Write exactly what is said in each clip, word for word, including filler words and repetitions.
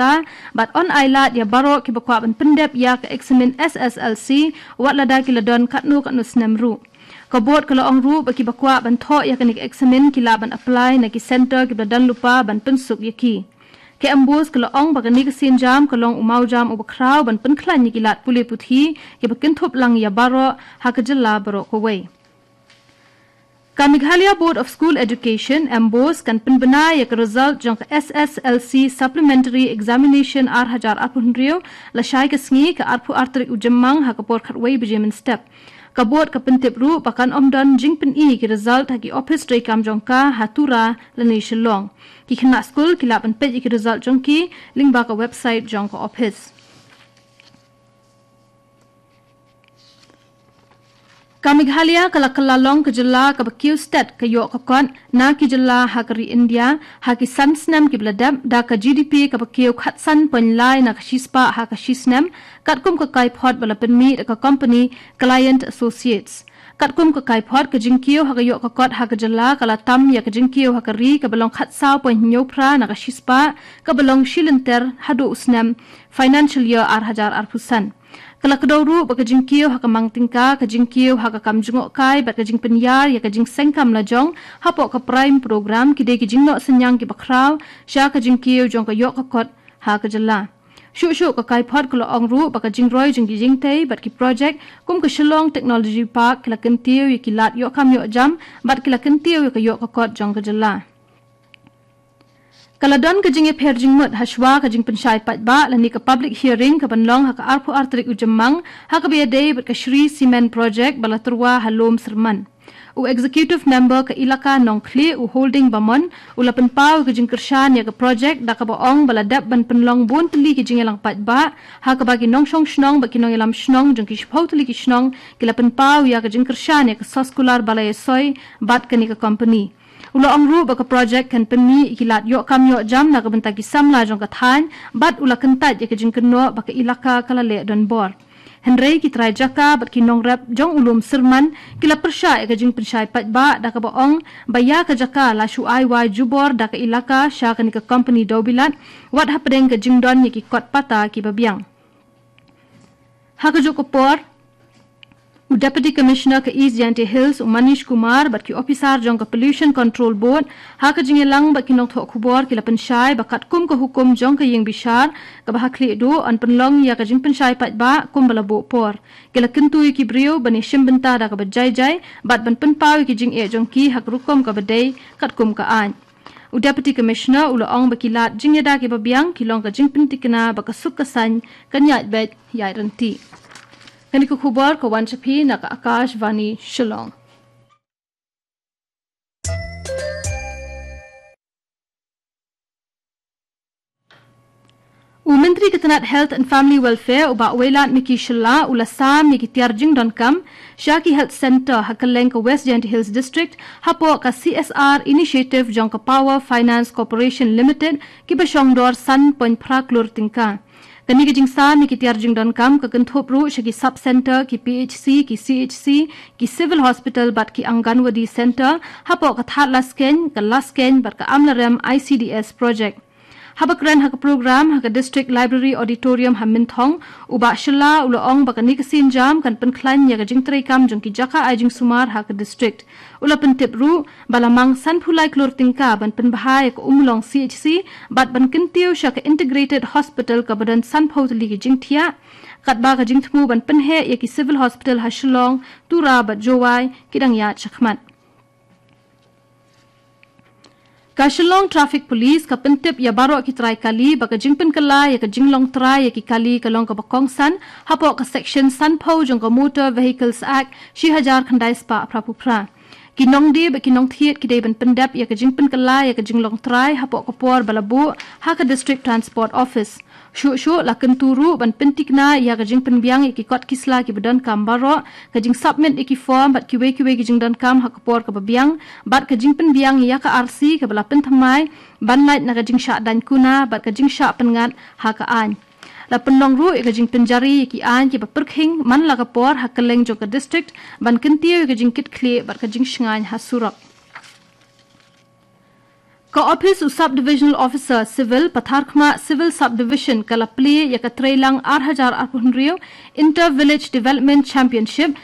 bynta, bad yn ailad ïa baroh kiba kwah ban pyndep ïa ka eksamin S S L C, wat lada ki la don katno katno snem ruh. Ka board ka la ong ruh ba kiba kwah ban thoh ïa kane ka eksamin ki lah ban apply na ki center kiba la don lypa ban pynsuk ïa ki. Ka MBOSE ka la ong ba kane ka sienjam ka long u mawjam uba khraw ban pynkhlaiñ ïa ki lad pule puthi kiba kynthup lang ïa baroh ha ka jylla baroh kawei. Ka Meghalaya Board of School Education, MBOSE, kan pynbna ïa ka result jong ka S S L C Supplementary Examination ar hajar arphew hynriew lashai ka sngi ka arphew ar tarik u Jymmang ha ka por khatwei baje mynstep. Ka board ka pyntip ruh ba kan ym don jingpyni ki result ha ki ophis treikam jong ka ha Tura lane Shillong. Ki khynnah skul ki lah ban peit ïa ki result jong ki lyngba ka website jong ka ophis. Ka Meghalaya ka la kylla long ka jylla kaba kiew stet ka ïoh ka kot na ki jylla ha ka ri India ha ki san snem kiba la dep, da ka GDP kaba kiew khatsan point lai na ka shispah ha ka shisnem, katkum ka kaiphod ba la pynmih da ka company Client Associates. Katkum ka kaiphod, ka jingkiew ha ka ïoh ka kot ha ka jylla ka la tam ïa ka jingkiew ha ka ri kaba long khatsaw point hynñiew phra na ka shispah kaba long shilynter haduh u snem financial year ar hajar arphew san. Ka la kdew ruh ba ka jingkiew ha ka mang tyngka, ka jingkiew ha ka kam jngohkai bad ka jingpynïar ïa ka jingseng kam lajong hapoh ka PRIME program ki dei ki jingnoh synñiang kiba khraw sha ka jingkiew jong ka ïoh ka kot ha ka jylla. Shuh shuh ka kaiphod ka la ong ruh ba ka jingroi jong ki jingtei bad ki projek kum ka Shillong Technology Park ki la kyntiew ïa ki lad ïoh kam ïoh jam bad ki la kyntiew ïa ka ïoh ka kot jong ka jylla. Ka la don ka jingïapher jingmut hashwa ka jingpynshai paidbah lane ka public hearing kaban long ha ka arphew ar tarik u Jymmang ha kaba ïadei bad ka Shree Cement Project ba la tyrwa ha Lum Syrman. U Executive Member ka Elaka Nongkhlieh, u Holding Bamon, u la pynpaw ka jingkyrshan ïa ka projek da kaba ong ba la dep ban pynlong bun tylli ki jingïalang paidbah ha kaba ki nongshong shnong bad ki nongïalam shnong jong ki shiphew tylli ki shnong ki la pynpaw ïa ka jingkyrshan ïa ka soskular ba la ïasoi bad kane ka company. U la ong ruh ba ka projek kan pynmih ïa ki lad ïoh kam ïoh jam na ka bynta ki samla jong ka thaiñ bad u la kyntait ïa ka jingkynnoh ba ka Elaka ka la leh donbor. Hynrei ki trai jaka bad ki nongrep jong u Lum Syrman ki la pyrshah ïa ka jingpynshai paidbah da kaba ong ba ïa ka jaka la shu ai wai jubor da ka Elaka sha kane ka company dewbilat wat hapdeng ka jingdon ïa ki kot pata kiba biang. Ha kajuh ka por, u Deputy Commissioner ka East Jaintia Hills, u Manish Kumar, bad ki ophisar jong ka Pollution Control Board ha ka jingïalang bad ki nongthoh khubor ki la pynshai ba katkum ka hukum jong ka ïingbishar kaba ha khlieh duh, yn pynlong ïa ka jingpynshai paidbah kumba la buh por. Ki la kyntu ïa ki briew ban ïashim bynta da kaba jai jai bad ban pynpaw ïa ki jingeh jong ki ha ka rukom kaba dei katkum ka aiñ. U Deputy Commissioner u la ong ba ki lad jingïada kiba biang ki long ka jingpyntikna ba ka suk ka saiñ kan ïaid beit ïaid ryntih. Kane ka khubor ka wan sha phi na ka Akashvani Shillong. U Myntri ka tnat Health and Family Welfare, u Bah Wailadmiki Shylla, u la sam ïa ki tiar jingdonkam sha ki health centre ha kylleng ka West Jaintia Hills District hapoh ka C S R initiative jong ka Power Finance Corporation Limited, kiba shongdor san point phra klur tyngka. Kane ka jingsam ïa ki tiar jingdonkam ka kynthup ruh sha ki sub centre, ki P H C, ki C H C, ki civil hospital bad ki Anganwadi centre hapoh ka Thadlaskein, ka Laskein bad ka Amlarem I C D S project. Haba kren ha ka program ha ka District Library Auditorium ha Mynthong, u Bah Shylla u la ong ba kane ka sienjam kan pynkhlaiñ ïa ka jingtreikam jong ki jaka ai jingsumar ha ka district. U la pyntip ruh ba la mang sanphew lai klur tyngka ban pynbha ïa ka Ummulong C H C bad ban kyntiew sha ka Integrated Hospital kaba don sanphew tylli ki jingthiah, katba ka jingthmu ban pynheh ïa ki civil hospital ha Shillong, Tura bad Jowai ki dang ïaid shakhmat. Ka Shillong Traffic Police ka pyntip ïa baroh ki trai kali ba ka jingpynkylla ïa ka jinglong trai ïa ki kali ka long kaba kongsan hapoh ka section sanphew jong ka Motor Vehicles Act shi hajar khyndai spah phraphew phra. Ki nongdie bad ki nongthied ki dei ban pyndep ïa ka jingpynkylla ïa ka jinglong trai hapoh ka por ba la buh ha ka District Transport Office. Shuh shuh la kyntu ruh ban pyntikna ïa ka jingpynbiang ïa ki kot ki sla kiba donkam baroh, ka jingsubmit ïa ki form bad kiwei kiwei ki jingdonkam ha ka por kaba biang, bad ka jingpynbiang ïa ka R C kaba la pynthymmai ban lait na ka jingshah daiñ kuna bad ka jingshah pynngat ha ka aiñ. La pynlong ruh ïa ka jingpynjari ïa ki aiñ kiba pyrkhing man la ka por ha kylleng jong ka district ban kyntiew ïa ka jingkitkhlieh bad ka jingshngaiñ ha surok. Ka ophis u Sub Divisional Officer Civil, Patharkhmah Civil Subdivision, ka la plie ïa ka Treilang ar hajar arphew hynriew Inter Village Development Championship,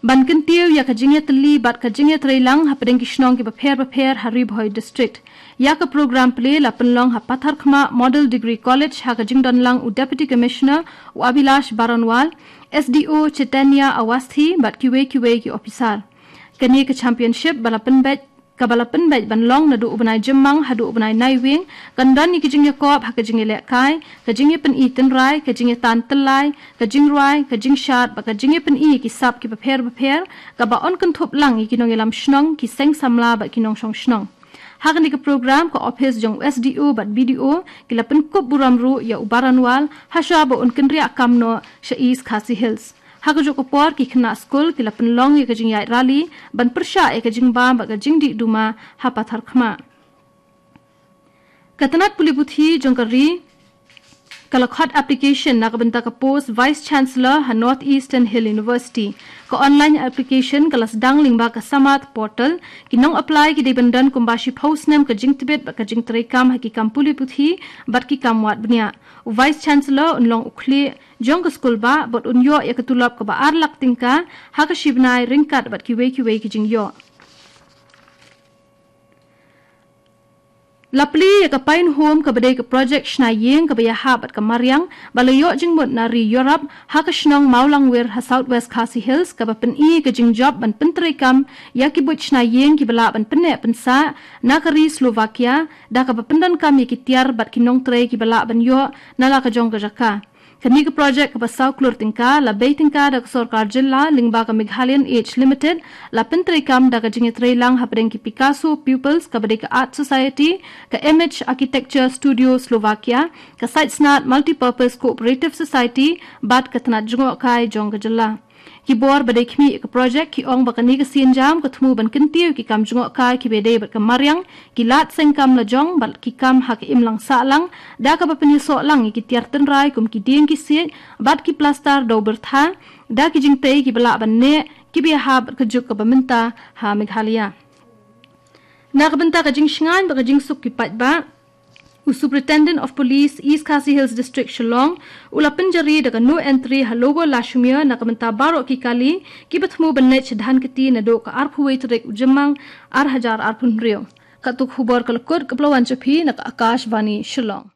ban kyntiew ïa ka jingïatylli bad ka jingïatreilang hapdeng ki shnong kiba pher bapher ha Ri Bhoi District. Ïa ka program plie la pynlong ha Patharkhmah Model Degree College ha ka jingdonlang u Deputy Commissioner u Abhilash Baranwal, S D O Chaitanya Awasthi bad kiwei kiwei ki ophisar. Kane ka championship ba la pynbeit, kaba la pynbeit ban long naduh u bnai Jymmang haduh u bnai Naiwieng, kan don ïa ka jingïakop ha ka jingïalehkai, ka jingïapyni tynrai, ka jingïatan tyllai, ka jingrwai, ka jingshad bad ka jingïapyni ïa ki sap kiba pher bapher, kaba yn kynthup lang ïa ki nongïalam shnong, ki seng samla bad ki nongshong shnong. Ha kane ka program, ka ophis jong u S D O bad B D O ki la pynkup burom ruh ïa u Baranwal hashwa ba un kynriah kam noh sha East Khasi Hills. Ha kajuh ka por, ki khynnah skul ki la pynlong ïa ka jingïaid rally ban pyrshah ïa ka jingbam bad ka jingdih duma ha Patharkhmah. Ka tnat pule puthi jong ka ri ka la khot application na ka bynta ka post Vice Chancellor ha North Eastern Hill University. Ka online application ka la sdang lyngba ka Samarth portal. Ki nong apply ki dei ban don kumba shiphew snem ka jingtbit bad ka jingtreikam ha ki kam pule puthi bad ki kam wad bniah. U Vice Chancellor un long u khlieh jong ka skul bah bad un ïoh ïa ka tulop kaba ar lak tyngka ha ka shi bnai ryngkat bad kiwei kiwei ki jingïoh. La plie ïa ka Pine Home kaba dei ka project shna ïing kaba ïahap bad ka mariang ba la ïoh jingmut na ri Europe ha ka shnong Mawlangwir ha South West Khasi Hills, kaba pyni ka jingjop ban pyntreikam ïa ki buit shna ïing kiba lah ban pynneh pynsah na ka ri Slovakia, da kaba pyndonkam ïa ki tiar bad ki nongtrei kiba lah ban ïoh na la ka jong ka jaka. Kane ka project kaba saw klur tyngka la bei tyngka da ka sorkar jylla lyngba ka Meghalayan Age Limited, la pyntreikam da ka jingïatreilang hapdeng ki Picasso Pupils kaba dei ka Art Society, ka Image Architecture Studio Slovakia, ka Site Snart Multipurpose Cooperative Society bad ka tnat jngohkai jong ka jylla. Ki bor ba dei khmih ïa ka project ki ong ba kane ka sienjam ka thmu ban kyntiew ki kam jngohkai kiba dei bad ka mariang, ki lad seng kam la jong bad ki kam ha ka imlang sahlang, da kaba pynïasoh lang ïa ki tiar tynrai kum ki dieng ki siej bad ki plastar dew byrtha, da ki jingtei kiba lah ban neh kiba ïahap bad ka juk kaba mynta ha Meghalaya. Na ka bynta ka jingshngaiñ bad ka jingsuk ki paidbah, u Superintendent of Police East Khasi Hills District Shillong u la pynjari da ka no entry ha Lower Lashumiere na ka bynta baroh ki kali kiba thmu ban leit sha Dhankheti naduh ka arphew wei tarik u Jymmang ar hajar arphew hynriew. Katto ka khubor ka la kut, kaba la wan sha phi na ka Akashvani Shillong.